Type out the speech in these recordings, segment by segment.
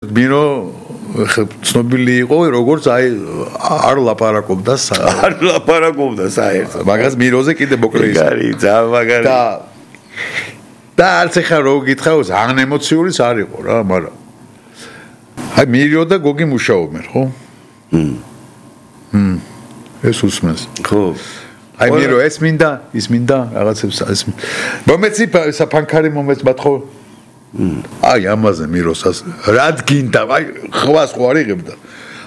მირო ცნობილი იყო როგორც არ ლაპარაკობდა საერთოდ მაგას მიროზე კიდე მოკლე ის მაგარი და არც ახლა რო გითხრა ძალიან ემოციური არ იყო რა მაგრამ აი მირო და გოგი მუშაობენ ხო ეს უსმენს ხო აი მირო ეს მინდა ის მინდა რაღაცებს ეს მომეცი საფანქარი მომეც ბათხო აი ამაზე მიროსას რად გინდა აი ხვას ხო არ იღებდა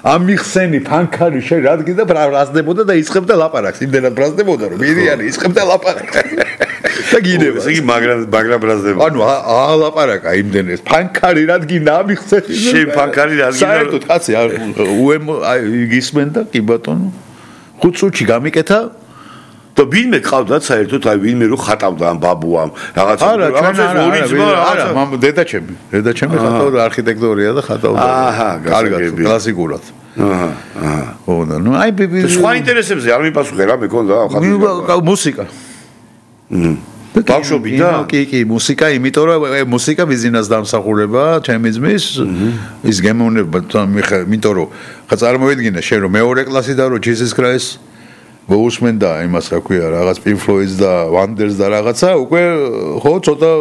ამიხსენი ფანქარი შე რად გინდა ბრაზდებოდა და ისხებდა ლაპარაკს იმდენად ბრაზდებოდა რომ მირიანი ისხებდა ლაპარაკს და გინდება ესე იგი მაგრამ ბრაზდებოდა ანუ ლაპარაკა იმდენად ფანქარი რად გინდა ამიხსენი შენ ფანქარი რად გინდა საერთოდ კაცი აი გისმენდა კი ბატონო 5 წუთში გამიკეთა და ვინმე ყავდა საერთოდ აი ვინმე რო ხატავდა ამ ბაბუამ რაღაცა არა მამ დედაჩემი ხატავდა არქიტექტორია და ხატავდა კარგად კლასიკურად ხო და ნუ აი სხვა ინტერესებზე არ მიპასუხე რა მეკონდა მუსიკა ბავშვობი და კი მუსიკა იმიტომ რომ მუსიკა ბიზნეს დამსახურება ჩემი ძმის ის გემოვნება იმიტომ რომ ხა წარმოვიდგინე შენ რომ მეორე კლასი და რომ Jesus Christ მოусმენდა იმას რა ქვია რაღაც Pink Floyd და Wonders და რაღაცა უკვე ხო ცოტა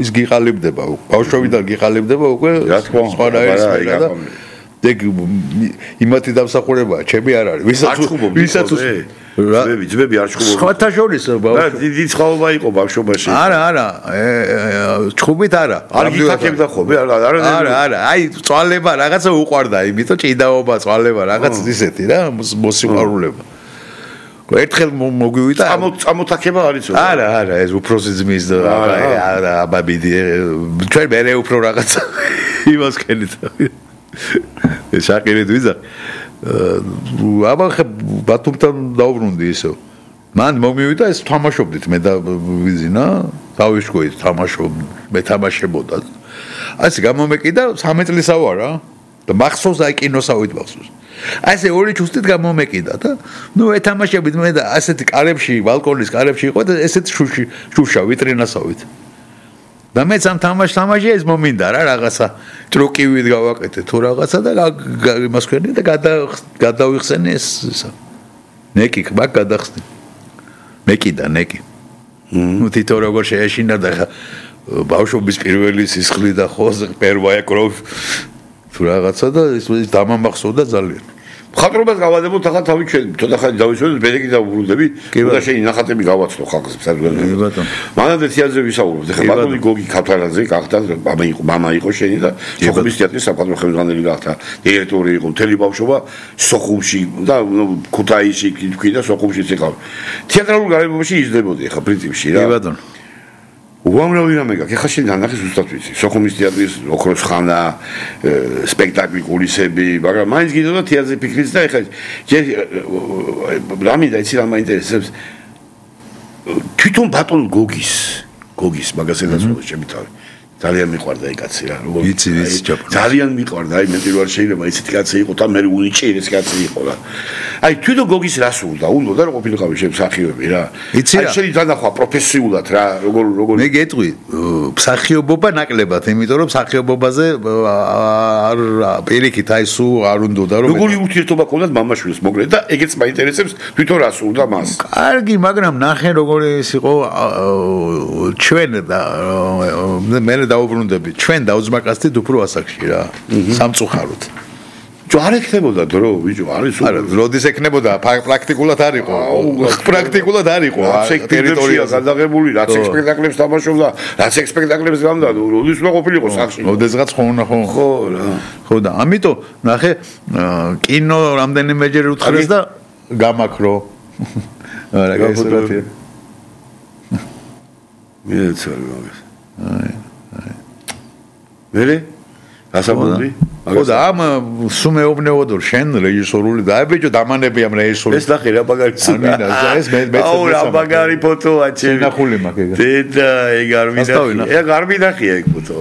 ის გიყალიბდება ბავშვობიდან გიყალიბდება უკვე სხვა რაი და იმათი დამსახურებაა ჩემი არ არის ვისაც ძმები არ ჩხუბობენ სხვათა შორის დიდი ცხოვრება იყო ბავშვობაში არა ჩხუბით არა არ გითაქებდა ხოლმე არა აი წვალება რაღაცა უყვარდა იმიტომ ჭიდაობა წვალება რაღაც ისეთი რა მოსიყვარულება ერთხელ მოგვივიდა წამოთაქება არის არა ეს უფროსი ძმის და აბაბიდი ჩვენ მე უფრო რაღაცა იმას ქენით ეს აკირით ვიზა აბა ბათუმთან დაუბრუნდი ისო მან მომივიდა ეს თამაშობდით მე და ვიზინა დავიშკოით მე თამაშებოდა ასე გამომეკიდა 13 წლისა ვარ რა და მახსოვს აი კინოსავით მახსოვს აი ესე ორი ჩუსტით გამომეკიდა და ნუ ეთამაშებით მე და ასეთი კარებში ბალკონის კარებში იყო და ესეთი შუშა ვიტრინასავით და მეც ამ თამაში ეს მომინდა რა რაღაცა ტრუკივით გავაკეთე თუ რაღაცა და იმას ქენი და გადავიხსენე ეს ნეკი მაგ გადახსნი ნეკი ნუ თითო როგორ შეეშინა და ბავშვობის პირველი სისხლი და ხოზე პერვაია კროვ თუ რაღაცა და ის დამამახსოვდა ძალიან ხატრობას გავადებოთ ახლა თავი ჩვენ ცოტა ხანი დავისვენოთ ბედეკი დავუბრუნდები და შენი ნახატები გავაცნო ხალხს საერთოდ ბატონო მანამდე თეატრზე ვისაუბრობთ ახლა ბატონი გოგი ქაფთარაძე გახდა მამა იყო შენი და სოხუმის თეატრის საკადრო ხელმძღვანელი გახდა დირექტორი იყო მთელი ბავშვობა სოხუმში და ქუთაისში თქვი და სოხუმშიც ეკავ თეატრალურ გარემოში იზრდებოდი ახლა პრინციპში რა ბატონო უამრავი რამე გაქვს. ეხლა შენ დანახე ზუსტად ვიცი. სოხუმის თეატრის ოქროს ხანა, სპექტაკლი კულისები, მაგრამ მაინც გინდოდა თეატრზე ფიქრიც და ეხლა რა მინდა იცი რა მაინტერესებს. თვითონ ბატონ გოგის მაგასედაც ხო ჩემი თავი. ძალიან მიყვარდა აი კაცი რა. როგორ ვიცი ძალიან მიყვარდა აი მე პირველ შეიძლება ისეთი კაცი იყო და მე უნიჭერეს კაცი იყო რა. აი თვითონ გოგის რას უნდა და რა ყოფილიყავი შენ მსახიობი რა. აი შენი დანახვა პროფესიულად რა როგორ მე გეტყვი მსახიობობა ნაკლებად იმიტომ რომ მსახიობობაზე არ პირიქით აი სუ არ უნდა რომ როგორი ურთიერთობა ქონდათ მამაშვილს მოკლედ და ეგეც მაინტერესებს თვითონ რას უნდა მას. კარგი მაგრამ ნახე როგორი ის იყო ჩვენ და მე დაუბრუნდები ჩვენ დაუძმაკაცდით უფრო ასაკში რა სამწუხაროდ არ ექნებოდა დრო ბიჭო არის არა როდის ექნებოდა პრაქტიკულად არ იყო ტერიტორია გადაღებული რაც სპექტაკლებს თამაშობდა რაც სპექტაკლებს გამდა როდის უნდა ყოფილიყო სახში როდესღაც ხო რა ხო და ამიტომ ნახე კინო რამდენიმეჯერ უთხრეს და გამაქრო არა გასულათია მეცარი მაგას მერე ასაბოდი ხო და ამ სუმეობნეოდო შენ რეჟისორული და აი ბიჭო დამანები ამ რეჟისორს ეს ნახე რა მაგარი ამინა ეს მე აუ რა მაგარი ფოტოა ჩემი ნახული მაგ დედა ეგ არ მინახია ეგ არ მინახია ეგ ფოტო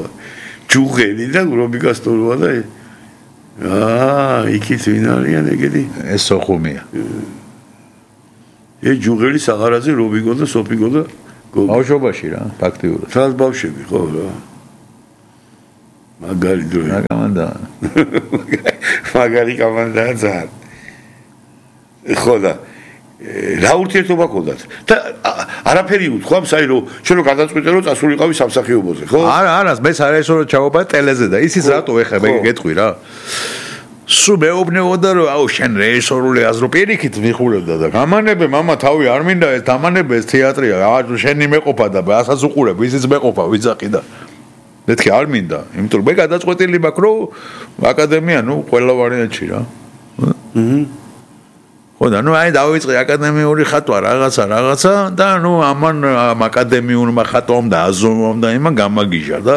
ჯუღელი და რობიკასტოროა და იქით ვინ არიან ეგეთი ეს სოხუმია ეს ჯუღელი საღარაძე რობიკო და სოფიკო და ბავშვობაში რა ფაქტიურად თავს ბავშვები ხო რა მაგარი დროი. მაგარი კომანდაა ძალიან. ხო და რა ურთიერთობა გქონდათ? და არაფერი უთქვა, საერთოდ რომ შენ რო გადაწყვიტე რომ წასულიყავი სამსახიობოზე, ხო? არა, მე საერთოდ რომ ჩავობა ტელეზე და ისიც რატო ეხა მე გეტყვი რა. სულ მეუბნებოდა რომ აუ შენ რეჟისორული აზრო პირიქით მიხურებდა და გამანებე მამა თავი არ მინდა ეს დამანებე ეს თეატრია შენი მეყოფა და ასაც უყურებ ისიც მეყოფა ვიძახი და მეთქი არ მინდა იმიტომ რომ მე გადაწყვეტილი მაქვს რომ აკადემია ნუ ყველა ვარიანტში რა ხო და ნუ აი დავიწყე აკადემიური ხატვა რაღაცა და ნუ ამან აკადემიურმა ხატვამ და აზომამ და იმან გამაგიჟა და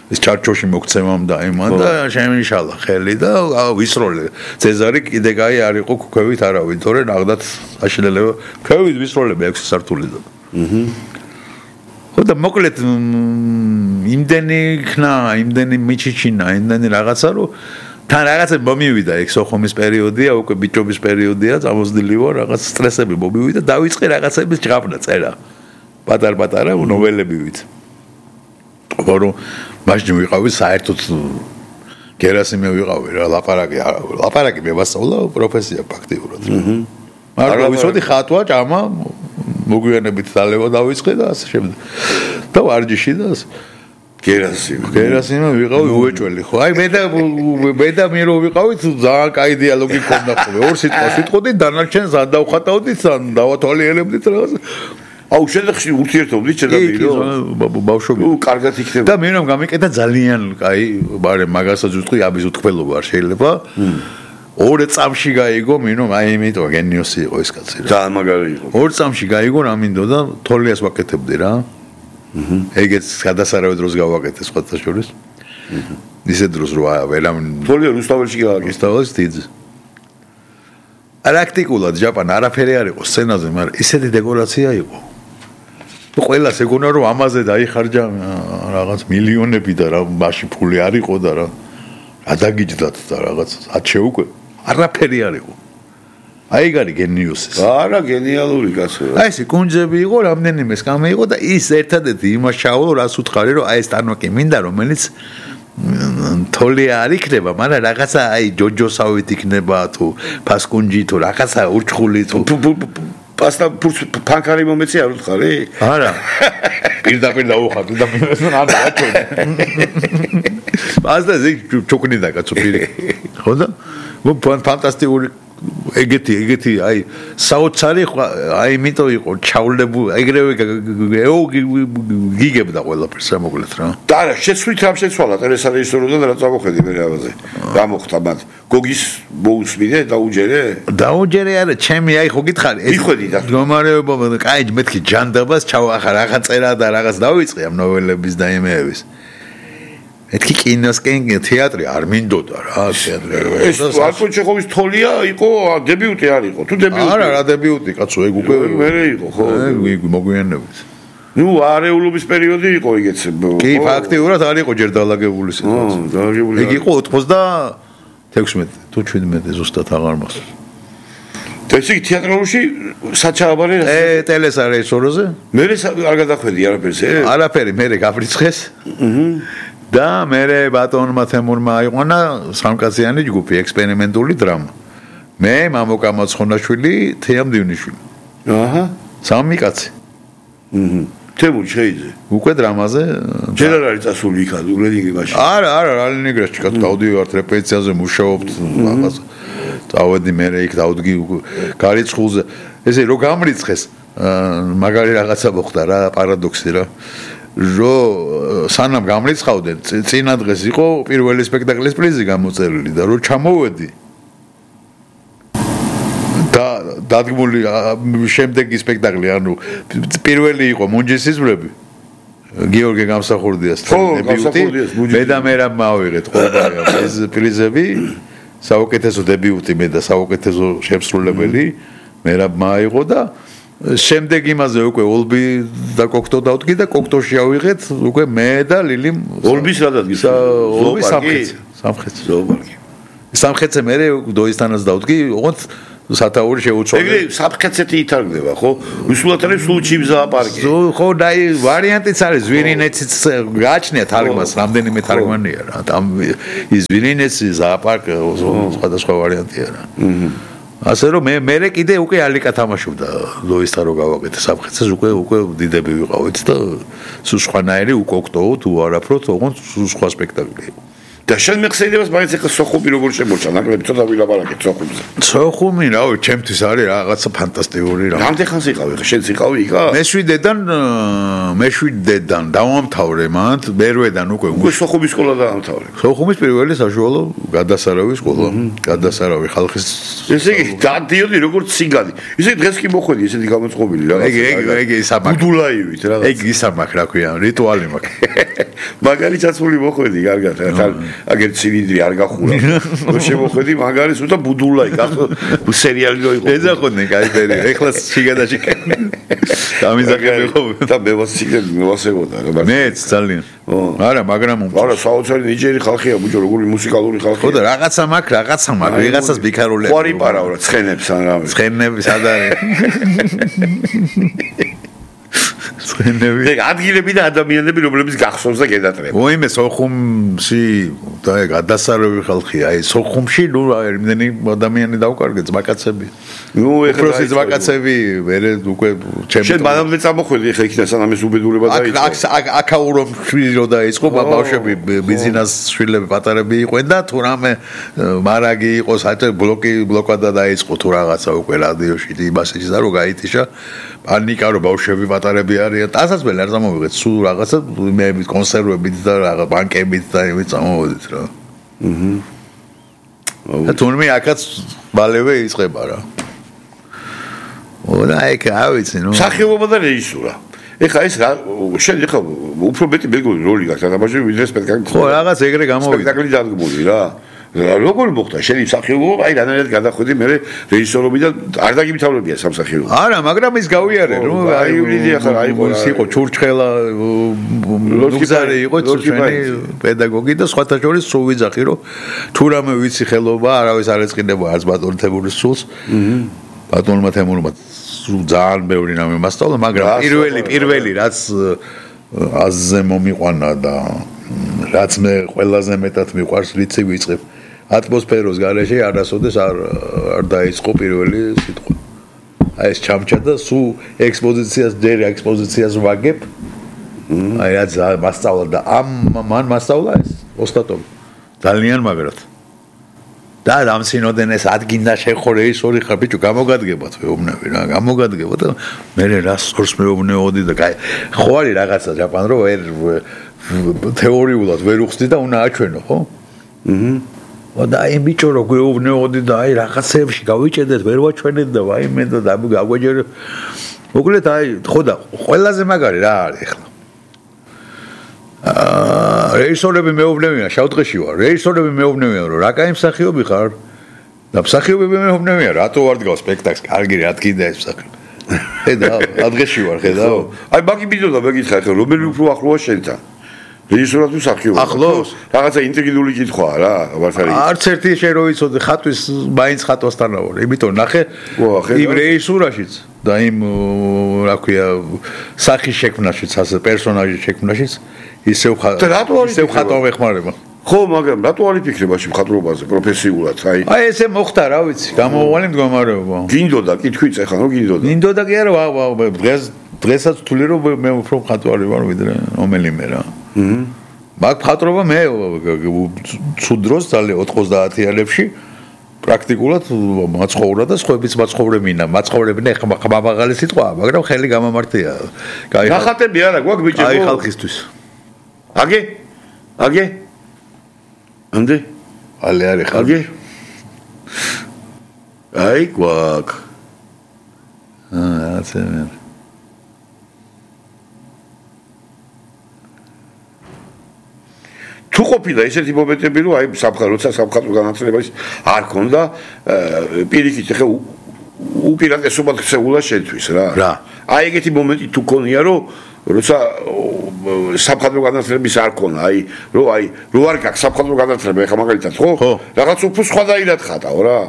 ეს ჩარჩოში მოგცემამ და იმან და შემიშალა ხელი და ვისროლე ცეზარი კიდე კაი არ იყო ქუქევით არავინ თორე ნახდათ აშლელება ქუქევით ვისროლები 6 სართული და ხო და მოკლედ იმდენი ხნა იმდენი მიჩიჩინა იმდენი რაღაცა რომ თან რაღაცა მომივიდა ეგ სოხუმის პერიოდია უკვე ბიჭობის პერიოდია წამოსდილი ვარ რაღაც სტრესები მომივიდა დავიწყე რაღაცების ჭრაბნა წერა პატარ-პატარა ნოველები ვით ორო მაშინ ვიყავი საერთოდ გერასიმე ვიყავი რა ლაპარაკი მე ვასწავლა პროფესია ფაქტიურად მაგრამ ვიცოდი ხატვა ჭამა მოგვიანებით დალევა დავიწყე და ასე შემდეგ და ვარჯიში და გერასიმე ვიყავი უეჭველი ხო აი მე და მე რო ვიყავით ძალიან კაი დიალოგი ქონდა ხოლმე ორ სიტყვას ვიტყოდი დანარჩენს ან დავხატავდით ან დავათვალიერებდით რაღაც აუ შედახში ურთიერთობდით შედაპირო ბავშვები კარგად იქნება და მე რომ გამიკეთა ძალიან კაი მაგრამ მაგასაც ვიტყვი აბის უთქმელობა არ შეიძლება ორ წამში გაიგო მე რომ აი იმიტომ გენიოსი იყო ეს კაცი რა ძალიან მაგარი იყო ორ წამში გაიგო რა მინდოდა თოლიას ვაკეთებდი რა ეგეც გადასარავე დროს გავაკეთე სხვათა შორის ისე დროს რა ვერავინ თოლია რუსთაველში გავაკეთე რუსთაველში თიძ პრაქტიკულად ჯაპან არაფერი არ იყო სცენაზე მაგრამ ისეთი დეკორაცია იყო ყველას ეგონა რომ ამაზე დაიხარჯა რაღაც მილიონები და რა მაშინ ფული არ იყო და რა დაგიჯდათ და რაღაც ათშე უკვე არაფერი არ იყო აი გარი გენიოსი არა გენიალური კაცო აი ეს კუნჯები იყო რამდენიმე სკამე იყო და ის ერთადერთი იმას ჩავალო რას უთხარი რომ აი ეს ტანვაკი მინდა რომელიც თოლი არ იქნება მაგრამ რაღაცა აი ჯოჯოსავით იქნება თუ ფასკუნჯი თუ რაღაცა ურჩხული თუ პასტა ფანქარი მომეცი არ უთხარი არა პირდაპირ დაუხატე და მე არ დააჩვენე პასტა ზე ჩოკნიდა კაცო პირი ხო და ფანტასტიკური ეგეთი აი საოცარი აი იმიტომ იყო ჩავლებული ეგრევე გიგებდა ყველაფერს ამოკლეთ რა და არა შეცვლით რამ შეცვალა ტერესა რეჟისოროდან რა წამოხედი მე რაღაცე რა მოხდა მათ გოგის მოусმინე დაუჯერე არა ჩემი აი ხო გითხარი ეს მიხვედი და მდგომარეობა კაი მეთქი ჯანდაბას ჩავახა რაღაც წერა და რაღაც დავიწყე ამ ნოველების და იმეების ეთქი კინოსკენ თეატრი არ მინდოდა რა თეატრი ეს არქო ჩეხოვის თოლია იყო დებიუტი არ იყო თუ დებიუტი არა რა დებიუტი კაცო ეგ უკვე მერე იყო ხო ეგ მოგვიანებით ნუ არეულობის პერიოდი იყო ეგეც კი ფაქტიურად არ იყო ჯერ დალაგებული სიტუაცია ეგ იყო 96 თუ 17 ზუსტად აღარ მახსოვს ეს იგი თეატრალურში საჩააბარე ტელესა რეჟისორზე მე არ გადახვედი არაფერი მე გაბრიცხეს და მე ბატონმა თემურმა აიყვანა სამკაციანი ჯგუფი ექსპერიმენტული დრამა მე მამოკა მოცხონაშვილი თეამ დივნიშვილი აჰა სამი კაცი თემურ შეიძლება უკვე დრამაზე ჯერ არ არის წასული იქ ლენინგრადში მაშინ არა ლენინგრადში კაცო დავდივართ რეპეტიციაზე მუშაობთ რაღაც დავედი მე იქ დავდგი გარიცხულზე ესე რო გამრიცხეს მაგარი რაღაცა მოხდა რა პარადოქსი რა რო სანამ გამრიცხავდნენ წინა დღეს იყო პირველი სპექტაკლის პრიზი გამოწერილი და რო ჩამოვედი და დადგმული შემდეგი სპექტაკლი ანუ პირველი იყო მუნჯისისმრები გიორგი გამსახურდიას მე და მე რა მავიღეთ ყოველდღე ეს პრიზები საუკეთესო დებიუტი მე და საუკეთესო შემსრულებელი მე რა მაიღო და შემდეგ იმაზე უკვე ოლბი და კოქტო დავდგი და კოქტოში ავიღეთ უკვე მე და ლილი ოლბის რა დადგის ოლბი სამხრეთზე მე დოისტანას დავდგი ოღონდ სათაური შეუცვალე. ეგრე საფრთხეცეთი ითარგდება, ხო? უსულათ არის სულ ჩიბზაა პარკი. ხო, და ვარიანტიც არის ვირინეციც გააჩნია თარგმანს, რამდენიმე თარგმანია რა. ის ვირინეცი ზააპარკი სხვადასხვა ვარიანტია რა. ასე რომ მე კიდე უკვე ალიკა თამაშობდა ლოისთან რო გავაკეთე საფრთხეცეს უკვე დიდები ვიყავით და სულ სხვანაირი უკვე ოქტოო თუ არაფროთ ოღონდ სულ სხვა სპექტაკლი. და შენ მეხსენებას მაგაც ახლა სოხუმი როგორ შემორჩა, ნაკლები ცოტა ვილაპარაკეთ სოხუმზე. სოხუმი რავი, ჩემთვის არის რაღაცა ფანტასტიკური რა. რამდენ ხანს იყავი ხა? შენც იყავი იქა? მე-7-დან დავამთავრე მანდ, მერვედან უკვე სოხუმის სკოლა დაამთავრე. სოხუმის პირველი საშუალო გადასარავი სკოლა, გადასარავი ხალხის. ესე იგი, დადიოდი როგორც ციგანი. ესე დღეს კი მოხვედი ესეთი გამოწყობილი რა. ეგ ისამაკ. ბუდულაივით რა. ეგ ისამაკ რა ქვია, რიტუალი მაქვს. მაგარი წაცული მოხვედი, კარგად რა. აგერ ცილინდრი არ გახურა. რო შემოხვედი მაგარის უთა ბუდულაი, სერიალი რო იყო. ეძახოდნენ კაი, ეხლა შიგადაში. დამიზახები ხო? და მე ვასებოდა რა. მეც ძალიან. არა, მაგრამ არა, საოცარი ნიჯერი ხალხია, ბუჭო, როგორი მუსიკალური ხალხია. ხო და რაღაცა მაქვს, ვიღაცას ბიქარულებს. ყარი პარავ რა, ცხენებს ან რა. ცხენები სად არის? ეგ ადგილები და ადამიანები რომლებიც გახსოვს და გედატრება. ოიმე სოხუმში და გადასარავი ხალხია. აი სოხუმში ნუ იმდენი ადამიანი დავკარგე ძმაკაცები. ნუ ეხლა უბრალოდ ძმაკაცები მერე უკვე ჩემი შენ მანამდე წამოხვედი ეხლა იქიდან სანამ ეს უბედურება დაიწყო. აკაურომში რო დაიწყო ბავშვები ბიზნეს შვილები პატარები იყვნენ და თუ რამე მარაგი იყო საერთო ბლოკადა დაიწყო თუ რაღაცა უკვე რადიოში იმასეჩი და რო გაითიშა პანიკა რო ბავშვები პატარები არიან დასასველი არ წამოვიღეთ სულ რაღაცა მე კონსერვებით და რაღაც ბანკებით და იმით წამოვიდით რა. და თუნდაც აქაც მალევე იწყება რა. ოდა ეგ ავიცი ნუ სახიობობა და რეჟისურა. ეხლა ეს რა შენ ეხლა უფრო მეტი მეგობრული როლი გაქვს თამაში ვიდრე სპექტაკლი. ხო რაღაც ეგრე გამოვიდა. სპექტაკლი დადგმული რა. როგორ მოხდა შენი მსახიობობა? აი რანაირად გადახვედი მე რეჟისორობიდან არ დაგიმთავრებია სამსახიობო. არა, მაგრამ ის გავიარე, რომ აი ვიდი ახლა იყო ჩურჩხელა ლუგზარი იყო ჩვენი პედაგოგი და სხვათა შორის სულ ვიძახი რომ თუ რამე ვიცი ხელობა, არავის არ ეწყინება არც ბატონ თემურის სულს. ბატონმა თემურმა ძალიან ბევრი რამე მასწავლა, მაგრამ პირველი რაც აზზე მომიყვანა და რაც მე ყველაზე მეტად მიყვარს რიცი ვიწყებ ატმოსფეროს გარეშე არასოდეს არ დაიწყო პირველი სიტყვა. აი ეს ჩამჩა და სულ ექსპოზიციას ვაგებ. აი რაც მასწავლა და მან მასწავლა ეს ოსტატოვი. ძალიან მაგრად. და ამ სინოდენეს ადგინდა შეხო რეჟისორი ხარ ბიჭო გამოგადგებათ მეუბნები რა გამოგადგებათ და მე რა სორს მეუბნეოდი და ხო არის რაღაცა ჯაპან რო თეორიულად ვერ უხსდი და უნდა აჩვენო ხო? და აი ბიჭო რო გვეუბნეოდი და აი რაღაცეებში გავიჭედეთ ვერ ვაჩვენეთ და ვაიმე და გაგვეჯერე. მოკლედ აი ხო და ყველაზე მაგარი რა არის ახლა? რეჟისორები მეუბნებიან შავდღეში ვარ. რეჟისორები მეუბნებიან რომ რა კაი მსახიობი ხარ? და მსახიობები მეუბნებიან რატო ვარ დგავ სპექტაკლს? კარგი რა თქინდა ეს მსახიობი. ხედავ, ადღეში ვარ, ხედავ. აი მაგი მიდოდა მეკითხა ახლა რომელი უფრო ახლოა შენთან? რეჟისორად თუ მსახიობად? ახლოს? რაღაცა ინტრიგიული კითხვაა რა, ვარსარი. არც ერთი შე რო იცოდე ხატვის მაინც ხატვასთან ვარ. იმიტომ ნახე იმ რეჟისურაშიც და იმ რა ქვია სახის შექმნაშიც, ასე პერსონაჟის შექმნაშიც ისევ ხატვა ვეხმარება. ხო, მაგრამ რატო არ იფიქრე მაშინ მხატვრობაზე პროფესიულად? აი ესე მოხდა რა ვიცი, გამოუვალი მდგომარეობა. გინდოდა კითხვიც ახლა რო გინდოდა. გინდოდა კი არა, დღესაც თვლი რომ მე უფრო მხატვარი ვარ ვიდრე რომელიმე რა. მაგ მხატვრობა მე ცუდ დროს ძალიან 90-იანებში პრაქტიკულად მაცხოვრა და სხვაებიც მაცხოვრებინა. მაცხოვრებინა ეხლა მაღალი სიტყვაა, მაგრამ ხელი გამამართია. ნახატები არა გვაქვს ბიჭო? აი ხალხისთვის. აგე? ამდე? ალე არის ხალხი. აი გვაქვს. აცემენ. თუ ყოფილა ესეთი მომენტები რომ აი როცა სამხატვრო განათლებას არ ქონდა პირიქით ხე უპირატესობად ხსეულა შენთვის რა. აი ეგეთი მომენტი თუ ქონია რომ როცა სამხატვრო განათლების არ ქონა, რო არ გაქვს სამხატვრო განათლება, ეხლა მაგალითად ხო? რაღაც უფრო სხვადასხვაირად ხატავ რა.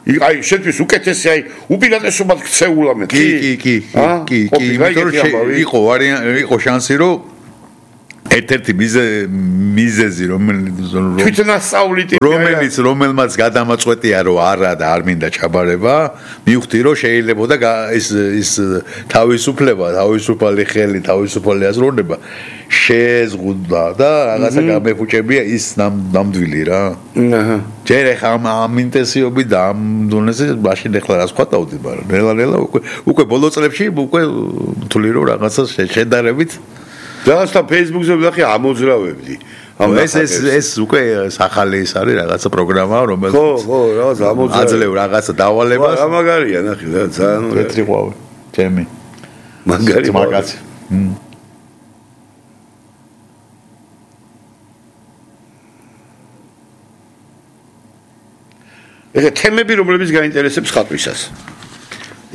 აი შენთვის უკეთესი უპირატესობად ქცეულა მე. კი. იყო შანსი რომ ერთ-ერთი მიზეზი რომელმაც გადამაწყვეტია რომ არა და არ მინდა ჩაბარება მივხვდი რომ შეიძლებოდა ის თავისუფალი ხელი თავისუფალი აზროვნება შეზღუდვა და რაღაცა გამეფუჭებია ის ნამდვილი რა ჯერ ახლა ამ ინტენსივობით და ამ დონეზე მაშინ ახლა რას ვხატავდი მაგრამ ნელა უკვე ბოლო წლებში უკვე თვლი რომ რაღაცა შედარებით და Facebook-ზე ვდახი ამოძრავებდი. ეს უკვე სახალი ის არის რაღაცა პროგრამა რომელიც ხო, რაღაცა ამოძრავ. აძლევ რაღაცა დავალებას. მაგარია ნახე რა, ძალიან მეტრი ყვავი. ჩემი. მაგარი მაგაცი. ეხა თემები რომლებიც გაინტერესებს ხატვისას.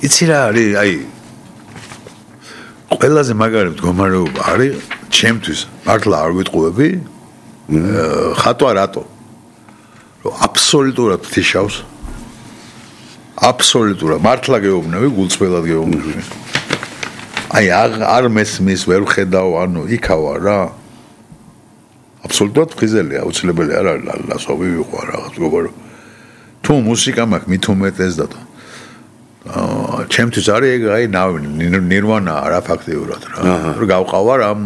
იცი რა არის, აი ყველაზე მაგარი მდგომარეობა არის ჩემთვის მართლა არ ვიტყუები ხატვა რატო რომ აბსოლუტურად თიშავს აბსოლუტურად მართლა გეუბნები გულწრფელად გეუბნები აი არ მესმის ვერ ხედავ ანუ იქავა რა აბსოლუტურად ფხიზელია აუცილებელი არ არის ლასოვი ვიყვა რაღაც მეგობარო თუ მუსიკა მაქვს მით უმეტეს და ჩემთვის არის ეგ აი ნირვანა რა ფაქტიურად რა რომ გავყავარ ამ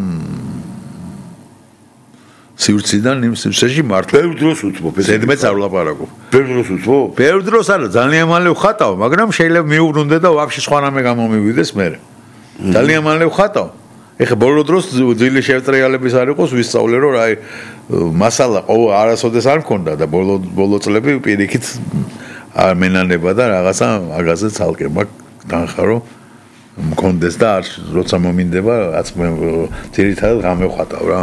სივრციდან იმ სივრცეში მართლა ბევრ დროს უთმობ ზედმეტ წავლაპარაკო ბევრ დროს უთმობ ბევრ დროს არა ძალიან მალე ვხატავ მაგრამ შეიძლება მიუბრუნდე და ვაფშე სხვა რამე გამომივიდეს მე ძალიან მალე ვხატავ ეხა ბოლო დროს ძილი შევტრიალების არ იყოს ვისწავლე რომ აი მასალა არასოდეს არ მქონდა და ბოლო წლები პირიქით არ მენანება და რაღაცა მაგაზე ცალკე მაგ დანხარო მქონდეს და არ როცა მომინდება რაც თირითადად გამევხატავ რა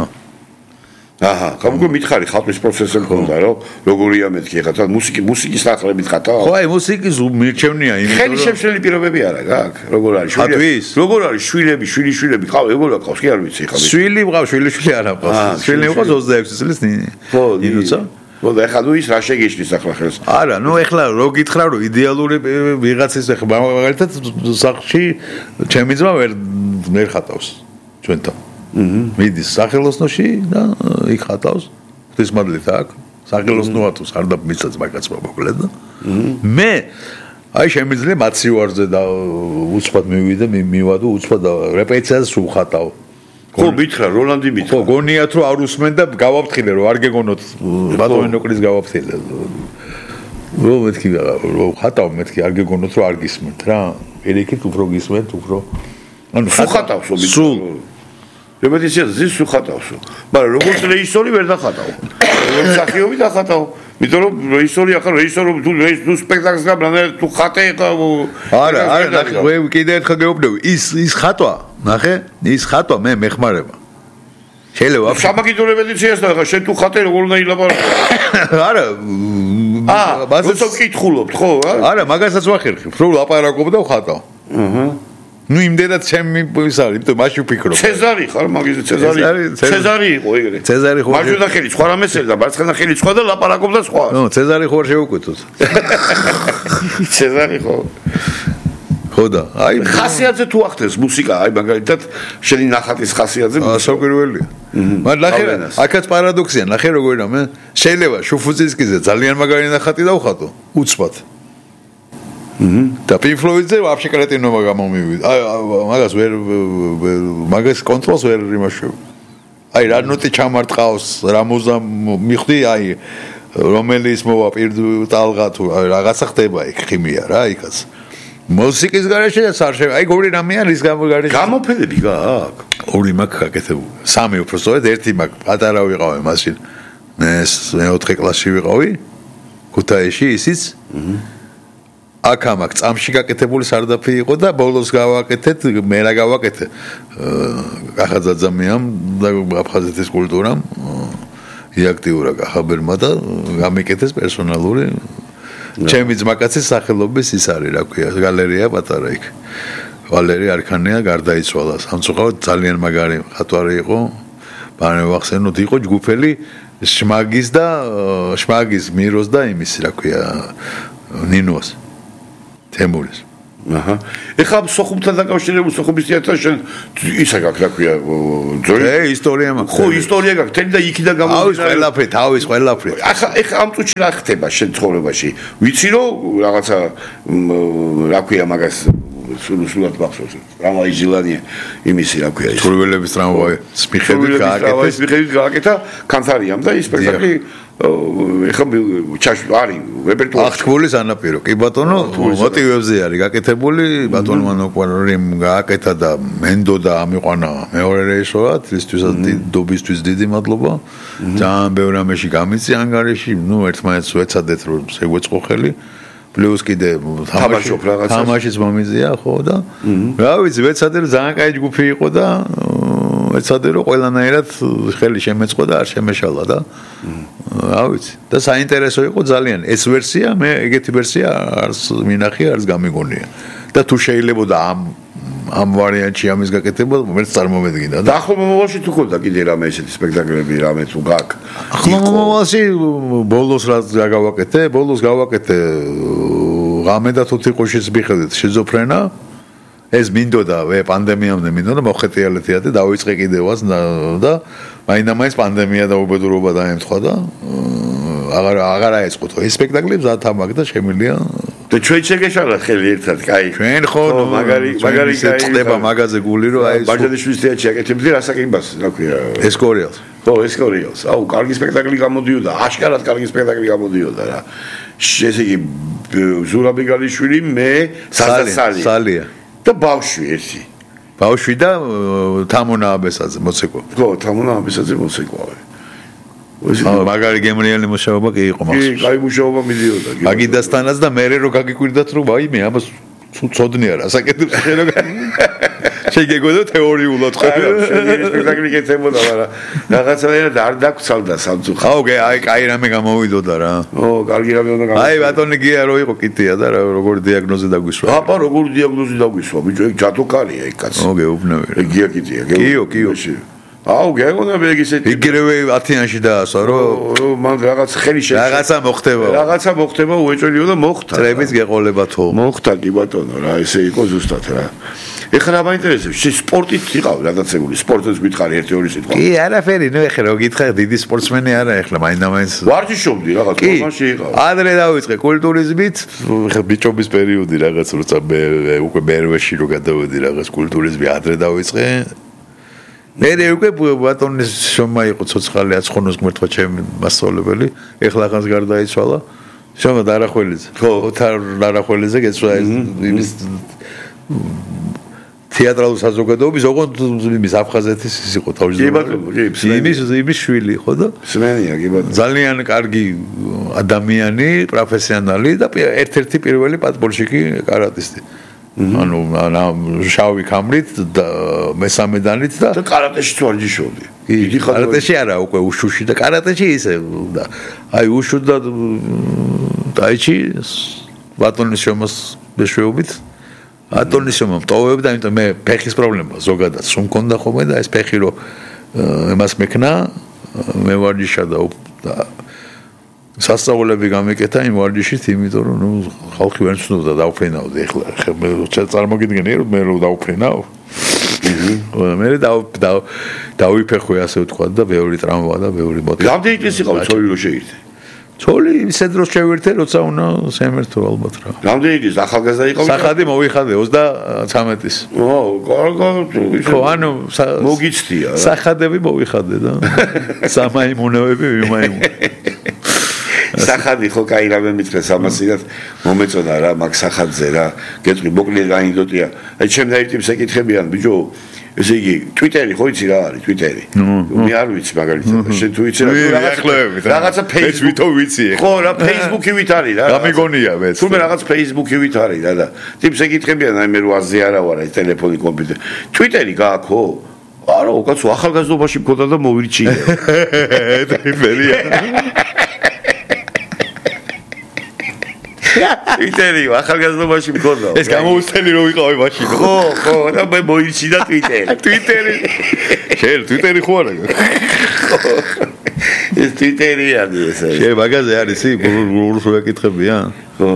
აჰა გამგო მითხარი ხატვის პროცესზე მქონდა რომ როგორია მეთქი ხატვა მუსიკის ნახლებით ხატავ ხო აი მუსიკის მირჩევნია იმიტომ რომ ხელი შემშლელი პირობები არა გაქვს როგორ არის როგორ არის შვილები ყავს ეგოლა ყავს კი არ ვიცი ხა შვილი მყავს შვილიშვილი არა ყავს შვილი მყავს 26 წლის ნინოცა ხო და ეხლა ის რა შეგეშლის ახლა ხელს არა ნუ ეხლა რო გითხრა რომ იდეალური ვიღაცის ეხლა მაგალითად სახში ჩემი ძმა ვერ ხატავს ჩვენთან მიდის სახელოსნოში და იქ ხატავს ღვთისმადლით აქ სახელოსნოათოს არ დამიცაც მაგაცმა მოკლედ და მე აი შემიძლია მაციوارზე და უცბად მივიდე მივადო უცბად რეპეტიციას ვხატავ ხო მითხრა როლანდი მითხრა ხო გონიათ რომ არ უსმენ და გავაფრთხილე რომ არ გეგონოთ ბატონინოკრის გავაფრთხილე რომ მეთქი რომ ხატავ მეთქი არ გეგონოთ რომ არ გისმენთ რა პირიქით უფრო გისმენთ უფრო ანუ ხატავსო სულ რეპეტიციაზე ზის ხატავსო მაგრამ როგორც რეჟისორი ვერ დახატავ როგორც მსახიობი დახატავ იმიტომ რომ რეჟისორი ახლა რეჟისორი თუ სპექტაკლს გაბრანა თუ ხატე არა ნახე მე კიდე ერთხელ გეუბნები ის ხატვა ნახე ის ხატვა მე მეხმარება შეიძლება სამაგიდო რეპეტიციას და ახლა შენ თუ ხატე როგორ უნდა ილაპარაკო არა როცა ვკითხულობთ ხო არა მაგასაც ვახერხებ რომ ლაპარაკობ და ვხატავ აჰა ნუ იმდენად ჩემი ის არის იმიტომ მაშინ ვფიქრობ ცეზარი ხარ მაგაზე ცეზარი იყო ეგრე ცეზარი ხო მარჯვენა ხელი სხვა რამეს ერდა მარცხენა ხელი სხვა და ლაპარაკობდა სხვა ნუ ცეზარი ხო შეუკვეთოთ ცეზარი ხო ხო და აი ხასიათზე თუ ახდენს მუსიკა აი მაგალითად შენი ნახატის ხასიათზე საკვირველია მაგრამ ნახე აქაც პარადოქსია ნახე როგორ რამე შეიძლება შუფუცისკიზე ძალიან მაგარი ნახატი დავხატო უცბად და Pink Floyd-ზე ვაფშე კრეტინობა გამომივიდა. მაგას მაგას კონტროლს ვერ იმაშევ. აი რა ნოტი ჩამარტყავს, რა მუზა მიხდი, აი რომელიც მოვა ტალღა თუ რაღაცა ხდება იქ ხიმია რა იქაც. მუსიკის გარეშე არ შეიძლება. აი ორი რამე არის გარეშე. გამოფენები გააქვს. ორი მაქვს გაკეთებული. სამი უბრალოდ ერთი მაქვს. პატარა ვიყავი მაშინ. მე 4 კლასში ვიყავი. ქუთაისში ისიც. აქამაკ წამში გაკეთებული სარდაფი იყო და ბოლოს გავაკეთეთ მე რა გავაკეთე ახაძაძამიამ და აფხაზეთის კულტურამ იაქტიურა კახაბერმა და გამიკეთეს პერსონალური ჩემი ძმაკაცის სახელობის ის არის რა ქვია გალერეა პატარა იქ ვალერი არქანია გარდაიცვალა. სამწუხაროდ ძალიან მაგარი მხატვარი იყო. ბანე ვახსენოთ, იყო ჯგუფელი შმაგის მიროს და იმის, რა ქვია, ნინოს თემურის. აჰა. ეხლა სოხუმთან დაკავშირებული სოხუმის თეატრთან შენ ისა გაქვს, რა ქვია, ძორი? ისტორია მაქვს. ხო, ისტორია გაქვს, თელი და იქიდან გამომდინარე. თავის ყველაფერი. ეხლა ამ წუთში რა ხდება შენ ცხოვრებაში? ვიცი რომ რაღაცა რა ქვია მაგას სულად მახსოვს. ტრამვაი ჟილანია იმისი რა ქვია ის. თურველების ტრამვაი. მიხედვით გააკეთა კანთარიამ და ის სპექტაკლი ეხლა არის რეპერტუარში. აღთქმულის ანაპირო. კი ბატონო, მოტივებზე არის გაკეთებული, ბატონმა ნოკვარიმ გააკეთა და მენდოდა ამიყვანა მეორე რეჟისორად, ისთვისაც დიდობისთვის დიდი მადლობა. ძალიან ბევრ ამაში გამიწი ანგარიში, ერთმანეთს ვეცადეთ რომ შეგვეწყო ხელი. პლუს კიდე თამაშიც მომიზია ხო და რა ვიცი ვეცადე რომ ძალიან კაი ჯგუფი იყო და ვეცადე რომ ყველანაირად ხელი შემეწყო და არ შემეშალა და რა ვიცი და საინტერესო იყო ძალიან ეს ვერსია მე ეგეთი ვერსია არც მინახე არც გამიგონია და თუ შეიძლებოდა ამ ვარიანტში ამის გაკეთება მე წარმომედგინდა და ახლა მომავალში თუ ქონდა კიდე რამე ესეთი სპექტაკლები რამე თუ გაქვს ახლა მომავალში ბოლოს რა გავაკეთე ბოლოს გავაკეთე ღამე და თუთიყუშის მიხედვით შიზოფრენა ეს მინდოდა პანდემიამდე მინდოდა მოხეტიალე თეატრი დავიწყე კიდევაც და მაინდა-მაინც პანდემია და უბედურობა დაემთხვა და აღარ აეწყო ეს სპექტაკლი მზად ამაგ და შემილია და ჩვენ შეგეშალა ხელი ერთად, კაი. ჩვენ ხო მაგარი კაი ხდება მაგაზე გული რომ აი ბაჟანიშვილის თეატრში აკეთებდი რასაკინბას, რა ქვია. ესკორიალს. ხო, ესკორიალს. აუ, კარგი სპექტაკლი გამოდიოდა, აშკარად კარგი სპექტაკლი გამოდიოდა რა. ესე იგი ზურაბ იგალიშვილი, მე, სალია და ბავშვი ერთი. ბავშვი და თამონა აბესაძე მოცეკვავი. ხო, თამონა აბესაძე მოცეკვავი. მაგარი გემრიელი მუშაობა კი იყო მაგას. კი, კაი მუშაობა მიდიოდა. მაგიდასთანაც და მე რო გაგიკვირდათ რომ აი მე ამას ცოდნია რა საკეთებს შენ რო შეგეგოდა თეორიულად ხედავ. შენ სპექტაკლი კეთებოდა, მაგრამ რაღაცაერად არ დაგცალდა სამწუხაროდ. აუ, აი, კაი რამე გამოვიდოდა რა. ო, კარგი რამე უნდა გამოვიდოდა. აი, ბატონი გია რო იყო კიტია და როგორი დიაგნოზი დაგვისვა. აბა, როგორი დიაგნოზი დაგვისვა, ბიჭო, ეგ ჯადოქარია ეგ კაცი. ო, გეუბნები. ეგ გია კიტია, კიო. აუ, გეგონა მე ეგ ისეთი. იგივე 10-იანში დაასვა, რომ მან რაღაც ხელი რაღაცა მოხდება. რაღაცა მოხდება, უეჭვლიო და მოხდა. წრების გეყოლებათო. მოხდა კი ბატონო რა, ესე იყო ზუსტად რა. ეხლა რა მაინტერესებს? შე სპორტით იყავ გადაცემული, სპორტს გითხარი 1-2 სიტყვა. კი, არაფერი, ნუ ეხლა რო გითხარ, დიდი სპორტსმენი არა ეხლა, მაინდა-მაინც. ვარჯიშობდი რაღაც ფორმაში იყავ. ადრე დავიწყე კულტურიზმით, ეხლა ბიჭობის პერიოდი რაღაც როცა მე უკვე მერვეში რო გადავედი რაღაც კულტურიზმი ადრე დავიწყე. მე უკვე ბატონის შომა იყო ცოცხალი აცხონოს გმერთვა ჩემი მასწავლებელი, ეხლა ახანს გარდაიცვალა. შომა დარახველიძე. ხო, ოთარ დარახველიძე გეცვა იმის თეატრალურ საზოგადოების ოღონდ იმის აფხაზეთის ის იყო თავისუფლად. იმის შვილი ხო და? სმენია კი ბატონო. ძალიან კარგი ადამიანი, პროფესიონალი და ერთ-ერთი პირველი პატბოლშიკი კარატისტი. ანუ შავი ქამრით და მესამე დანით და კარატეში ვარჯიშობდი. იგი კარატეში არა უკვე უშუში და კარატეში ისე და აი უშუ და დაიჩი ბატონის შრომას მეშვეობით ბატონის შრომა მტოვებდა, იმიტომ მე ფეხის პრობლემა ზოგადად სულ მქონდა ხოლმე და ეს ფეხი რო იმას მექნა მე ვარჯიშა და სასწაულები გამეკეთა იმ ვარჯიშით, იმიტომ რომ ნუ ხალხი ვერ ცნობდა დავფრინავდი ეხლა ხა წარმოგიდგენი რომ მე რო დავფრინავ. მე დავიფეხე ასე ვთქვათ და ბევრი ტრამვა და ბევრი მოტივი. რამდენი წელი იყავ ცოლი რო შეირთე? ცოლი ისე დროს შევირთე, როცა უნდა სემერთო ალბათ რა. რამდენი წელი ახალგაზრდა იყავ? სახადი მოვიხადე 33-ის. ო, კარგი. ხო, ანუ მოგიცდია რა. სახადები მოვიხადე და სამაიმუნოები ვიმაიმუნე. სახადი ხო კაი რამე მითხრეს ამასინად მომეწონა რა მაგ სახადზე რა გეტყვი მოკლედ გაინდოტია აი ჩემ დაირთებს ეკითხებიან ბიჭო ესე იგი ტვიტერი ხო იცი რა არის ტვიტერი მე არ ვიცი მაგალითად შენ თუ იცი რაღაცა ფეისბუქი ვიცი ხო რა ფეისბუქი ვით არის რა გამიგონია მეც თუმე რაღაც ფეისბუქი ვით არის რა და ტიპს ეკითხებიან აი მე რო აზე არა ვარ ეს ტელეფონი კომპიუტერი ტვიტერი გააქო არა უკაცო ახალგაზრდობაში მქონდა და მოვირჩიე ტვიტერი ახალგაზრდობაში მქონდა. ეს გამოუცდელი რომ ვიყავი მაშინ. ხო, და მე მოიჩინა ტვიტერი. შენ ტვიტერი ხო არა? ეს ტვიტერია ეს. შენ მაგაზე არის გურს ვეკითხებიან? ხო.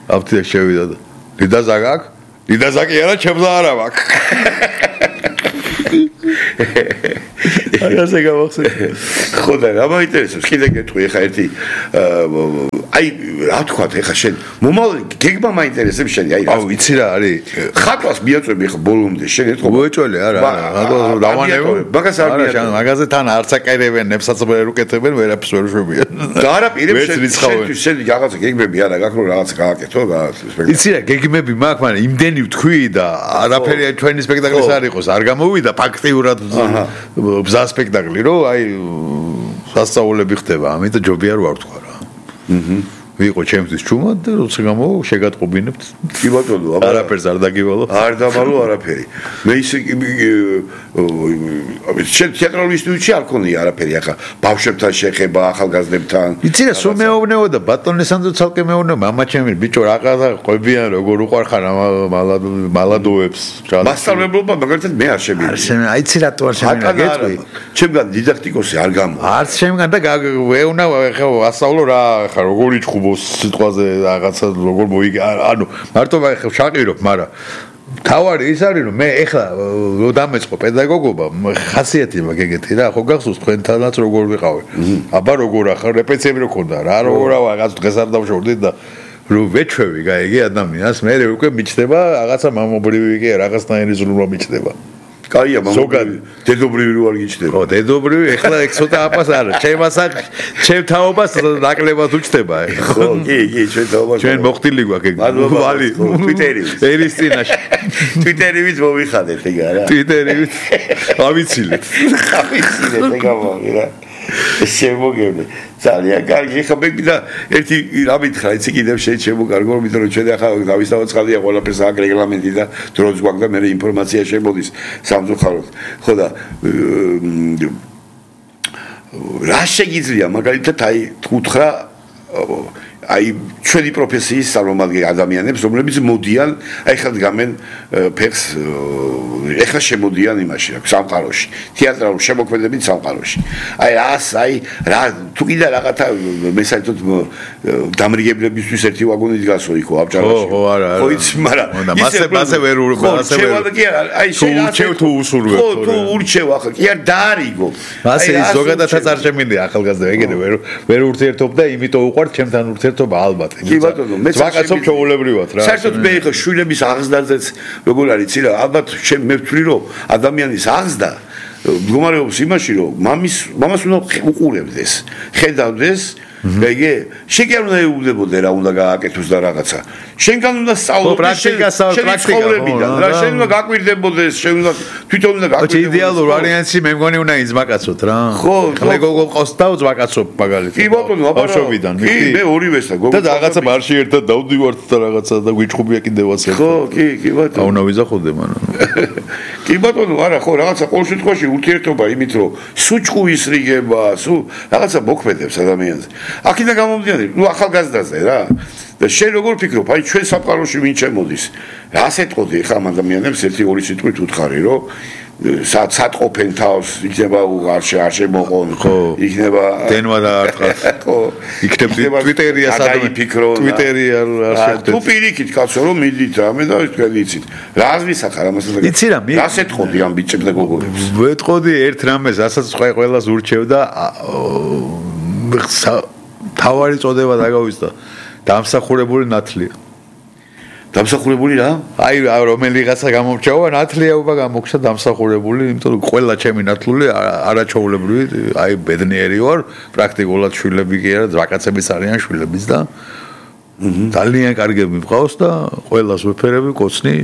აფთიაქ შევიდა და დიდაზაკ აქ? დიდაზაკი არა, ჩემს არა მაქვს. ასე გავახსენე. ხო და რა მაინტერესებს? კიდე გეტყვი ხა ერთი აი რა თქვა ხა შენ მომავალი გეგმა მაინტერესებს შენი აი აუ იცი რა არის? ხატვას მიაწვევი ხა ბოლომდე შენ ეთქო. მოეჭველი არა მაგას არ მიაწვევი. მაგაზე თან არც აკერებენ, ნებსაც ვერ უკეთებენ, ვერაფერს ვერ შვებიან. და არა პირებს შენ რაღაცა გეგმები არა გაქვს რომ რაღაცა გააკეთო იცი რა გეგმები მაქვს, მაგრამ იმდენი ვთქვი და არაფერი ჩვენი სპექტაკლის არ იყოს, არ გამოვიდა ფაქტიურად ბზა სპექტაკლი რომ აი სასწაულები ხდება, ამიტომ ჯობია რომ არ თქვა რა. ვიყო ჩემთვის ჩუმად და როცა გამო შეგატყობინებთ. კი ბატონო, არაფერს არ დაგივალო. არ დამალო არაფერი. მე ისე შენ თეატრალურ ინსტიტუტში არ ქონია არაფერი ახლა ბავშვებთან შეხება, ახალგაზრდებთან. იცი რა, სულ მეუბნეო და ბატონი სანდრო ცალკე მეუბნეო, მამა ჩემი ბიჭო რაღაცა ყვებიან როგორ უყარხარ მალადოებს. მასწავლებლობა მაგალითად მე არ შემიძლია. აი იცი რატო არ შემიძლია გეტყვი? ჩემგან დიდაქტიკოსი არ გამო. არც ჩემგან და ვეუნა ხა ასწავლო რა ხა როგორ იჭხუბოს სიტყვაზე რაღაცა როგორ მოიგე ანუ მარტო ხა შაყირობ, მაგრამ თავარი ის არის რომ მე ეხლა რო დამეწყო პედაგოგობა ხასიათი მაგ ეგეთი რა ხო გახსოვს თქვენთანაც როგორ ვიყავი აბა როგორ ახლა რეპეტიციები რო ქონდა რა როგორ რაღაც დღეს არ დავშორდით და რო ვეჩვევი გაიგე ადამიანს მე უკვე მიჩნდება რაღაცა მამობრივი კი რაღაცნაირი ზრუნვა მიჩნდება კაია მამობრივი დედობრივი რო არ გიჩნდება ხო დედობრივი ეხლა ეგ ცოტა აპას არა ჩემ თაობას ნაკლებად უჩნდება ხო კი ჩვენ თაობას ჩვენ მოხდილი გვაქვს ეგ ვალი ტვიტერი ერის წინაშე ტვიტერივით მოვიხადეთ ეგ არა ტვიტერივით ავიცილეთ ეგ ამოგი რა შემოგევნე ძალიან კარგი ხა მე და ერთი რა მითხრა იცი კიდევ შემოგარგო იმიტომ რომ ჩვენ ახლა დავისავაცხადია ყველაფერს აქ რეგლამენტი და დროც გვაქვს და მე ინფორმაცია შემოდის სამწუხაროდ ხო და რა შეგიძლია მაგალითად აი უთხრა აი ჩვენი პროფესიის წარმომადგენელი ადამიანებს რომლებიც მოდიან აი ხა დგამენ ფეხს ეხლა შემოდიან იმაში რა სამყაროში თეატრალურ შემოქმედებით სამყაროში აი აი რა თუ კიდე რაღაცა მე საერთოდ დამრიგებლებისთვის ერთი ვაგონი დგასო იქო აბჭარაში ხო არა ხო იცი მაგრამ მასე ვერ აი შენ თუ უსურვებ ხო თუ ურჩევ ახლა კი არ დაარიგო მასე ის ზოგადადაც არ შემიძლია ახალგაზრდა ეგრე ვერ ურთიერთობ და იმიტომ უყვართ ჩემთან ურთიერთობა ალბათ კი ბატონო მე ვაკაცობ ჩაოლებრივად რა საერთოდ მე ხო შვილების აღზრდაზეც როგორ არის იცი რა ალბათ მე ვთვლი რომ ადამიანის აღზრდა მდგომარეობს იმაში რომ მამას უნდა უყურებდეს ხედავდეს ეგე შენ კი არ უნდა ეუბნებოდე რა უნდა გააკეთოს და რაღაცა შენგან უნდა სწავლობდეს პრაქტიკა რა შენ უნდა გაკვირდებოდეს შენ უნდა თვითონ უნდა გაკვირდებოდეს იდეალურ ვარიანტში მე მგონი უნდა იზმაკაცოთ რა ხო გოგო ყავს და უზმაკაცობ მაგალითად კი ბატონო აბა ბავშვობიდან კი მე ორივესა გოგო და რაღაცა მარში ერთად დავდივართ და რაღაცა და გვიჭხუბია კიდევაც ერთად ხო კი ბატონო აუნა ვიზახოდე მანო კი ბატონო არა ხო რაღაცა ყოველ შემთხვევაში ურთიერთობა იმით რომ სუჭყუ ისრიგება სულ რაღაცა მოქმედებს ადამიანზე აქედან გამომდინარე ნუ ახალგაზრდაზე რა და შენ როგორ ფიქრობ აი ჩვენ სამყაროში ვინ შემოდის რას ეთყოდი ხა ამ ადამიანებს ერთი ორი სიტყვით უთხარი რომ სატყოფენ თავს იქნება არ შემოყონ იქნება დენვა და არტყას ხო იქნება ტვიტერია სადმე ტვიტერი არ შეხვდეთ თუ პირიქით კაცო რომ მიდით რამე და თქვენ იცით რა ვისახარ ამას და იცი რა რას ეთყოდი ამ ბიჭებს და გოგონებს ვეთყოდი ერთ რამეს რასაც ყველას ურჩევ და თავარი წოდება დაგავისდა დამსახურებული ნათლია დამსახურებული რა? აი რომელიღაცა გამომრჩევა ნათლიაობა გამოგჩა დამსახურებული, იმიტომ რომ ყველა ჩემი ნათლული არაჩვეულებრივი, აი ბედნიერი ვარ, პრაქტიკულად შვილები კი არა, ძვაკაცებიც არიან შვილებიც და ძალიან კარგები მყავს და ყველას ვეფერები კოცნი,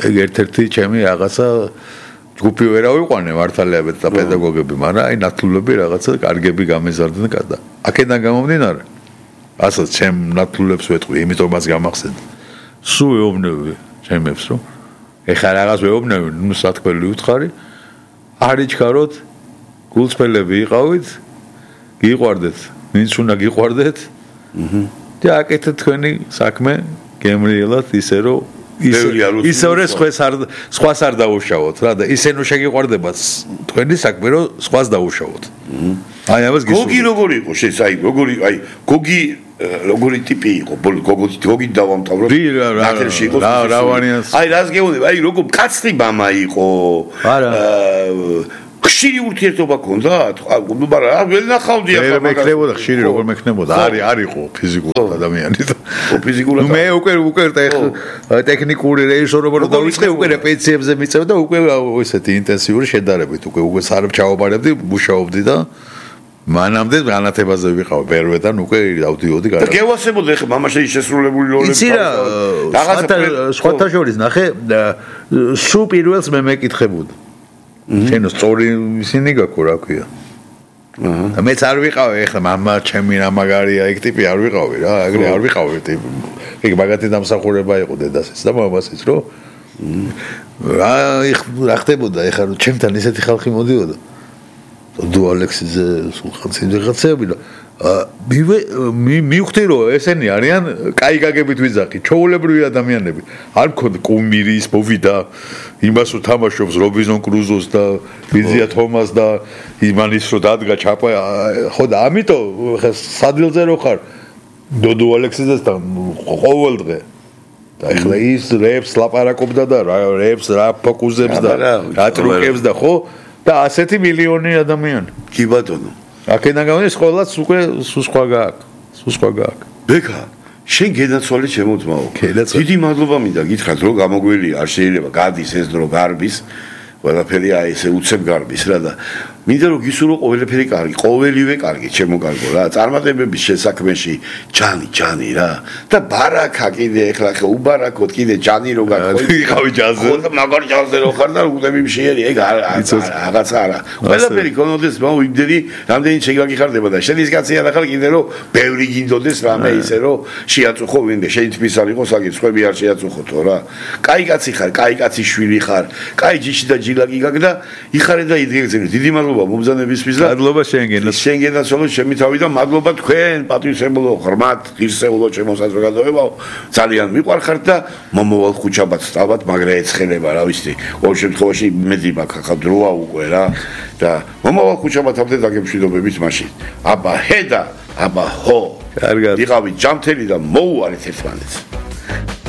ეგ ერთ-ერთი ჩემი რაღაცა ჯგუფი ვერ ავიყვანე მართალიაბეთ და პედაგოგები, მაგრამ აი ნათლულები რაღაცა კარგები გამეზარდნენ და აქედან გამომდინარე ასაც ჩემ ნათლულებს ვეთყვი, იმიტომ მას გამახსენდა სულ ეუბნები ჩემებს რომ ეხლა რაღაც ვეუბნები ნუ სათქმელი უთხარი არ იჩქაროთ გულწრფელები იყავით გიყვარდეთ ვინც უნდა გიყვარდეთ და აკეთეთ თქვენი საქმე გემრიელად ისე რომ ისე სხვას არ დაუშავოთ რა და ისე ნუ შეგიყვარდებათ თქვენი საქმე რომ სხვას დაუშავოთ. აი ამას გისურვებთ. გოგი როგორი იყო აი როგორი აი გოგი როგორი ტიპი იყო გოგი დავამთავროთ ნაკრებში იყო აი რას გეუბნები აი როგორ კაცრი მამა იყო ხშირი ურთიერთობა ქონდათ ნუ მაგრამ ვერ ნახავდი ახლა მეკნებოდა ხშირი როგორ მეკნებოდა არისო ფიზიკურად ადამიანი და ფიზიკურად მე უკვე ტექნიკური რეჟისორობა რო დავიწყე უკვე რეპეტიციებზე მიწევ და უკვე ესეთი ინტენსიური შედარებით უკვე სარჩაობარებდი მუშაობდი და მანამდე განათებაზე ვიყავ ბერვედან უკვე დავდიოდი და გევასებოდი ხე მამაშეი შესრულებული როლები იცი რა სხვათა შორის ნახე სულ პირველს მე მეკითხებოდი შენო სწორი ისინი გაქო რა ქვია და მეც არ ვიყავი ეხლა მამა ჩემი რა მაგარია ეგ ტიპი არ ვიყავი რა ეგრე არ ვიყავი ტიპი ეგ მაგათი დამსახურება იყო დედასიც და მამასიც რომ რა ხდებოდა ეხლა რომ ჩემთან ისეთი ხალხი მოდიოდა დუ ალექსიზე სულხანცი ვიღაცები და მივხვდი რომ ესენი არიან კაი გაგებით ვიძახი ჩაოლებრივი ადამიანები არ მქონდა კუმირის მოვიდა იმას რომ თამაშობს რობინზონ კრუზოს და ბიზია თომას და იმანის რომ დადგა ჩაპა ხო და ამიტომ სადილზე რო ხარ დოდო ალექსიძესთან ყოველ დღე და ეხლა ის რეპს ლაპარაკობდა და რეპს რა ფოკუსებს და რა ტრუკებს და ხო და ასეთი მილიონი ადამიანი კი ბატონო აქედან გამომდის ყოველას უკვე სხვა გააკ ბეკა შენ გენაცვალე ჩემო ძმაო დიდი მადლობა მინდა გითხრათ რომ გამოგველი არ შეიძლება გადის ეს დრო გარბის ყველაფერი აი ესე უცებ გარბის რა და მინდა რომ გისურვო ყველაფერი კარგი ყოველივე კარგი ჩემო კარგო რა წარმატებების შესაქმეში ჯანი რა და ბარაკა კიდე ეხლა ხე უბარაკოთ კიდე ჯანი რო გაქონი იყავი ჯანზე ხო და მაგარ ჯანზე რო ხარ და უდები მშიერი ეგ რაღაცა არა ყველაფერი გონოდეს მაუ იმდენი რამდენი შეგაგიხარდება და შენ ის კაცია და ხარ კიდე რომ ბევრი გინდოდეს რამე ისე რომ შეაწუხო ვინმე შენ თვითონ არ იყოს აგე სხვები არ შეაწუხოთო რა კაი კაცი ხარ კაი კაცი შვილი ხარ კაი ჯიში და ჯილაკი გაგდა იხარე და იდგეგზები დიდი მადლობა მომბრძანებისთვის და მადლობა შენგენაც ხოლმე ჩემი თავი და მადლობა თქვენ პატრიოტებო ღრმად ღირსეულო ჩემო საზოგადოებაო ძალიან მიყვარხართ და მომავალ ხუჩაბაც ალბათ მაგრა ეცხელება რა ვიცი ყოველ შემთხვევაში მედი მაქვს ახლა დროა უკვე რა და მომავალ ხუჩაბათამდე დაგემშვიდობებით მაშინ აბა ჰე და აბა ჰო კარგად იყავით ჯამთელი და მოუარეთ ერთმანეთს